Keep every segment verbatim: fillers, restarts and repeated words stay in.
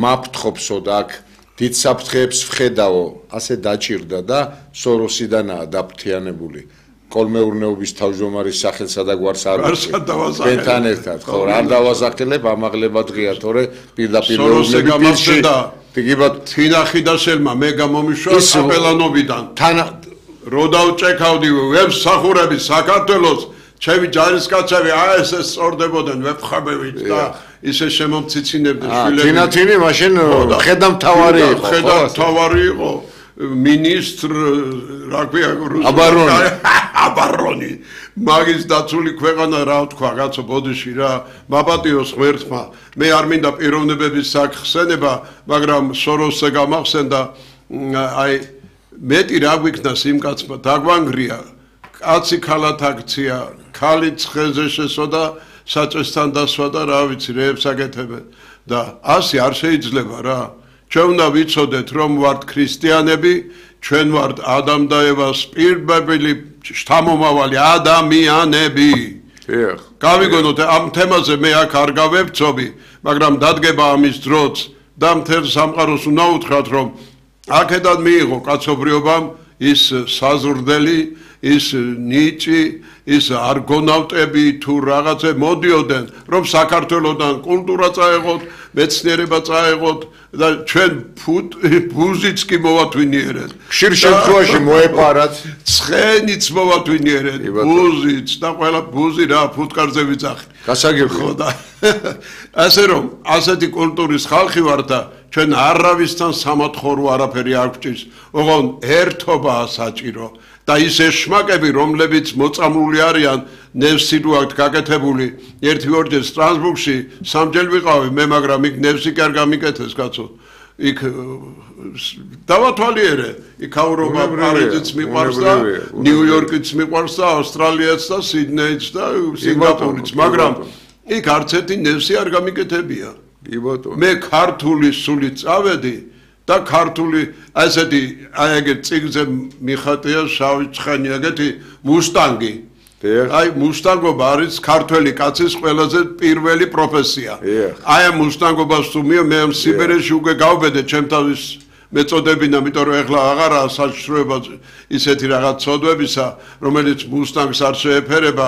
მაფრთხობსო და აქ დიდ საფრთხეებს ვხედავო, ასე დაჭირდა და სოროსიდანაა დაფრთიანებული. კოლმეურნეობის თავმჯდომარის სახელსა და გვარს არ ვიცი. თქვენთან ერთად, ხო, არ დავასახელებ, ამაღლება დღეა, თორე პირდაპირ მეუბნები პირში. იგივე თინახი და სელმა მე გამომიშვა აპელანობიდან. თან რო დავჭექავდი ვებსახურები საქართველოს, ჩემი ჯარისკაცები აი ესე სწორდებოდნენ ვებხაბებით და ისე შემომციცინებდნენ შვილები. თინათინი მაშინ ხედამთავარი იყო. ხედამთავარი იყო. მინისტრ რა ქვია აბარონი აბარონი მაგის დაცული ქვეყანა რა თქვა კაცო ბოდიში რა მაპატიოს ღმერთმა მე არ მინდა პიროვნებების სახსენება მაგრამ სოროსზე გამახსენდა აი მეტი რა გვიქნა იმ კაცმა დაგვანგრია კაცი ქალათ აქცია ქალი ცხენზე შესოდა საწესთან დასვა და რა ვიცი რეებს აკეთებენ და ასე არ შეიძლება რა ჩვენ უნდა ვიცოდეთ რომ ვართ ქრისტიანები ჩვენ ვართ ადამ და ევას პირბებელი შთამომავალი ადამიანები გავიგონოთ ამ თემაზე მე აქ არ გავებცობი მაგრამ დადგება ამის დროც და მთელ სამყაროს უნდა უთხრათ რომ აქედან მიიღო კაცობრიობამ ის საზრდელი ის ნიჭი ის არგონავტები თუ რაღაცე მოდიოდნენ რომ საქართველოსთან კულტურა წაეღოთ მეცნიერება წაეღოთ და ჩვენ ბუზიც კი მოვათვინიერეთ ხშირ შემთხვევაში მოეპარათ ცხენიც მოვათვინიერეთ ბუზიც და ყველა ბუზი რა ფუტკარზე ვიძახით გასაგებია და ასე რომ ასეთი კულტურის ხალხი ვარ და ჩვენ არავისთან სამოთხორო არაფერი არ გვჭირს ოღონ ერთობაა საჭირო და ის ეშმაკები რომლებიც მოწამლული არიან ნევსი რო აქვს გაკეთებული ერთი ორჯერ სტრასბურგში სამჯერ ვიყავი მე მაგრამ იქ ნევსი კი არ გამიკეთეს კაცო იქ დავათვალიერე იქაურობა პარიზიც მიყვარს და ნიუ-იორკიც მიყვარს და ავსტრალიაც და სიდნეიც და სინგაპურიც მაგრამ იქ არც ერთი ნევსი არ გამიკეთებია კი ბატონო მე ქართული სული წავედი და ქართული ასეთი აი ეგ წიგნზე მიხატია შავი ცხენი ეგეთი მუსტანგი აი მუსტანგობა არის ქართველი კაცის ყველაზე პირველი პროფესია აი ამ მუსტანგობას თუ მე ამ სიბერეში უკვე გავბედე ჩემ თავის მეწოდებინა იმიტომ რომ ეხლა აღარაა საშიშროება ისეთი რაღაც ცოდვებისა რომელიც მუსტანგს არ შეეფერება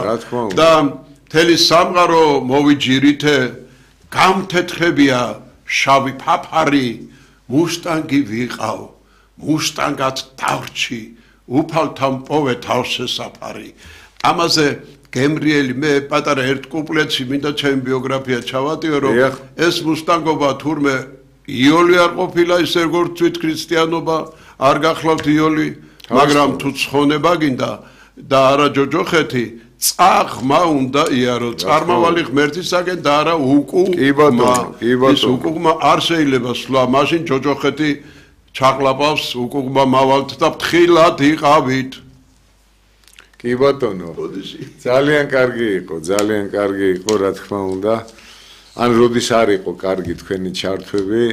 და მთელი სამყარო მოვიჯირითე გამთეთრებია შავი ფაფარი მუსტანგი ვიყავ მუსტანგად დავრჩი უფალთან პოვე თავს შესაფარი ამაზე გემრიელი მე პატარა ერთ კუპლეტში მინდა ჩემი ბიოგრაფია ჩავატიო რომ ეს მუსტანგობა თურმე იოლი არ ყოფილა ისე როგორც თვით ქრისტიანობა არ გახლავთ იოლი მაგრამ თუ ცხონება გინდა და არა ჯოჯოხეთი წაღმა უნდა იარო წარმავალი ღმერთისაგენ და არა უკუღმა ის უკუღმა არ შეიძლება სვლა მაშინ ჯოჯოხეთი ჩაყლაპავს უკუღმა მავალთ და ფრთხილად იყავით კი ბატონო ძალიან კარგი იყო ძალიან კარგი იყო რა თქმა უნდა ან როდის არ იყო კარგი თქვენი ჩართვები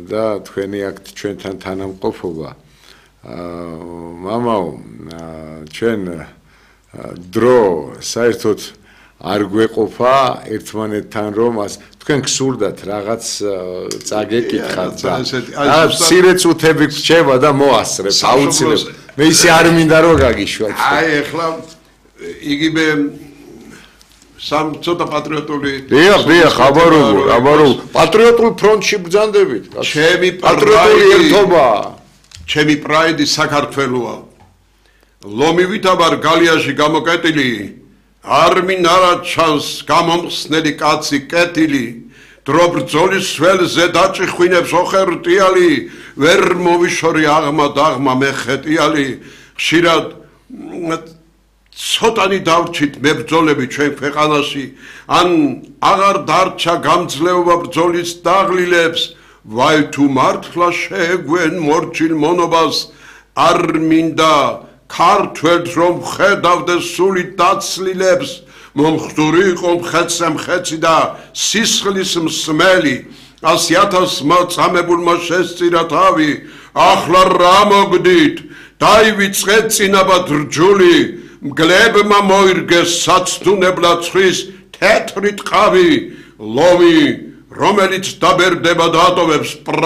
და თქვენი აქ ჩვენთან თანამყოფობა მამაო ჩვენ დრო საერთოდ არ გვეყოფა ერთმანეთთან რომ თქვენ გსურდათ რაღაც წაგეკითხათ და მცირე წუთები გრჩება და მოასწრებ აუცილებლად მე ისე არ მინდა რომ გაგიშვათ აი ეხლა იგივე სამ ცოტა პატრიოტული დიახ დიახ აბარო აბარო პატრიოტულ ფრონტში ბრძანდებით ჩემი პატრიოტული ერთობა ჩემი პრაიდი საქართველოა ლომივით აბარ გალიაში გამოკეტილი არ მინარა ჩანს გამომხსნელი კაცი კეთილი დრო ბრძოლის ველზე დაჭიხვინებს ოხერტიალი ვერ მოვიშორი აღმა დაღმა მეხეტიალი ხშირად ცოტანი დავრჩით მებრძოლები ჩვენ ქვეყანაში ან აღარ დარჩა გამძლეობა ბრძოლის დაღლილებს ვაი თუ მართლა შეეგვენ მორჩილ მონობას არ მინდა ქართველს რომ ხედავდეს სული დაცლილებს მომხდური იყო მხეცე მხეცი და სისხლის მსმელი ასი ათას მოწამებულმა შესწირა თავი ახლა რა მოგდით დაივიწყეთ წინაბად რჯული მგლებმა მოირგეს საცდუნებლად ცხვის თეთრი ტყავი ლომი რომელიც დაბერდება და ატოვებს